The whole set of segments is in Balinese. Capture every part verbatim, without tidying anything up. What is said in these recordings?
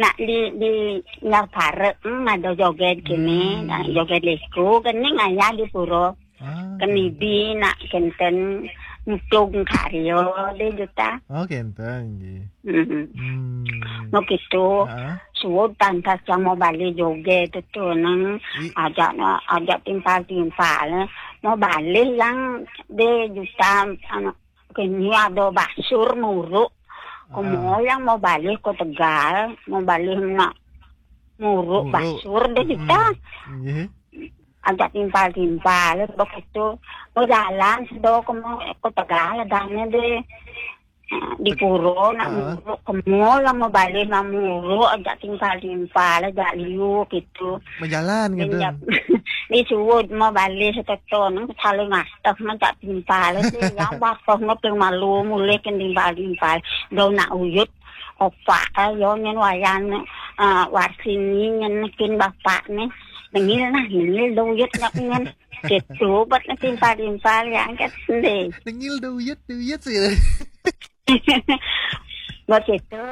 Nak di, di nyar parek, hmm, ada joget kini, nak joget disco, kini ngayah di pura. Ah, kenibi nak kenten nutug karya deh juta. Oh, kenten, nggih. Hmm. Hmm. Mau gitu. Ah. Suud tantas yang mau balik joget itu neng I- ajak ajak timpal-timpal. Mau balik yang deh juta anu kini ada basur muruk. Komo yang mau balik ke Tegal, mau balik nak muruk basur deh kita. Nggih. Ajak timpal-timpal begitu. Mau jalan sedo komo ke Tegal adanya deh. Di pura nak muruk komo yang mau balik nak muruk ajak timpal-timpal ajak liu gitu. Berjalan gitu. Disuud mau balik seteto nang saling ngasteh ajak timpal. Yang bakoh ngeting malu mulih ke timpal-timpal. Do nak uyut opak yo nyen wayan, eh, warsini nyen kin bapak nih. Nengil nah, nengil do uyut nak nyen. Gitu, buat nak timpal-timpal yang kat sendiri. Nengil do uyut, do uyut sih. Buat itu,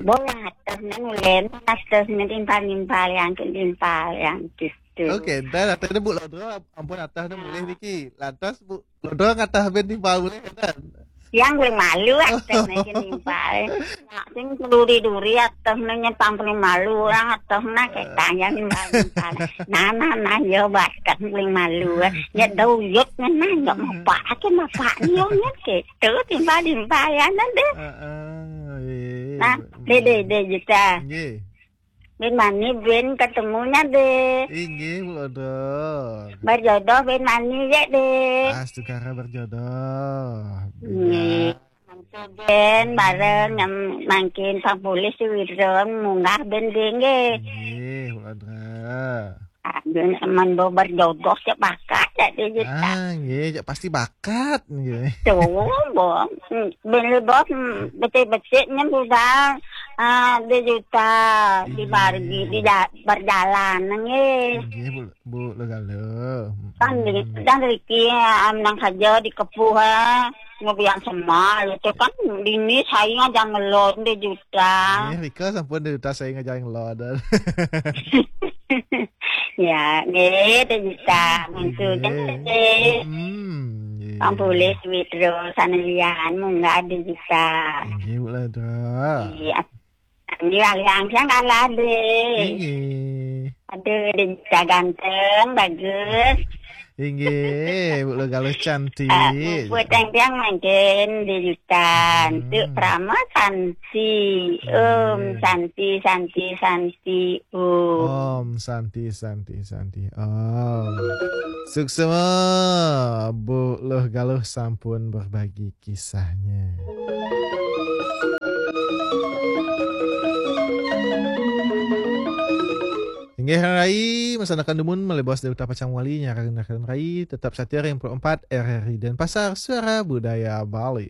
boleh atas nang ulen, atas nang timpal-timpal yang ke timpal yang gitu. Oke, entar atas Bu Lodro, ampun atas nang mulih niki. Lantas Bu Lodro ngatah ben timpal mulih kan? Yang paling malu atas nang timpal. Nak sing duri-duri atas nang nyetang paling malu orang atas nang ketanya timpal-timpal. Nah, nah, nah, yo bakat paling malu. Ya do uyut nang nggak mau pak, aja mau pak ni yo nyen gitu timpal-timpal ya nanti. Heeh, iya. Nah, deh, deh, deh, juta. Nggih. Ben mani ben ketemunya deh. Inggih, Bu Lodro. Berjodoh ben mani ya deh. Astungkara berjodoh. Nggih. Mangke ben bareng yang mangkin Pak Polisi Wiron munggah ben deh nggih. Nggih, Bu Lodro. Ah, ben aman bo berjodoh sepakat ya deh juta. Ah, nggih, cak pasti bakat nggih. Tuh, bo. Hmm, ben le bo, hmm, becik-becik nyen budal. Ah, dua juta di bargi di ja-, berjalan nggih. Nggih, Bu, Bu Logalo. Kan di, dan riki am nang saja dikepuh, ah, ngobian semal itu kan dini saya ngajang ngelon dua juta. Nggih, rika sampun dua juta saya ngajang ngelon. Ya, nggih, dua juta. Mantu nggih. Hmm, nggih. Pang boleh duit terus, anu lian, munggah dua juta. Nggih, Bu Lodro. Iya. Ini aliang siang kalah deh. Inggih. Aduh, dua juta ganteng, bagus. Inggih, Bu Logalo cantik. Ah, buat yang tiang mangkin dua juta. Hmm. Untuk Prama Santi. Om Santi, Santi, Santi, Om. Om Santi, Santi, Santi, Om. Suksema, Bu Logalo sampun berbagi kisahnya. Inggih Rai, masanakan dumun malih bos dari Pacang Wali, nyarangan Rai, tetap setia ring empat R R I Denpasar, Suara Budaya Bali.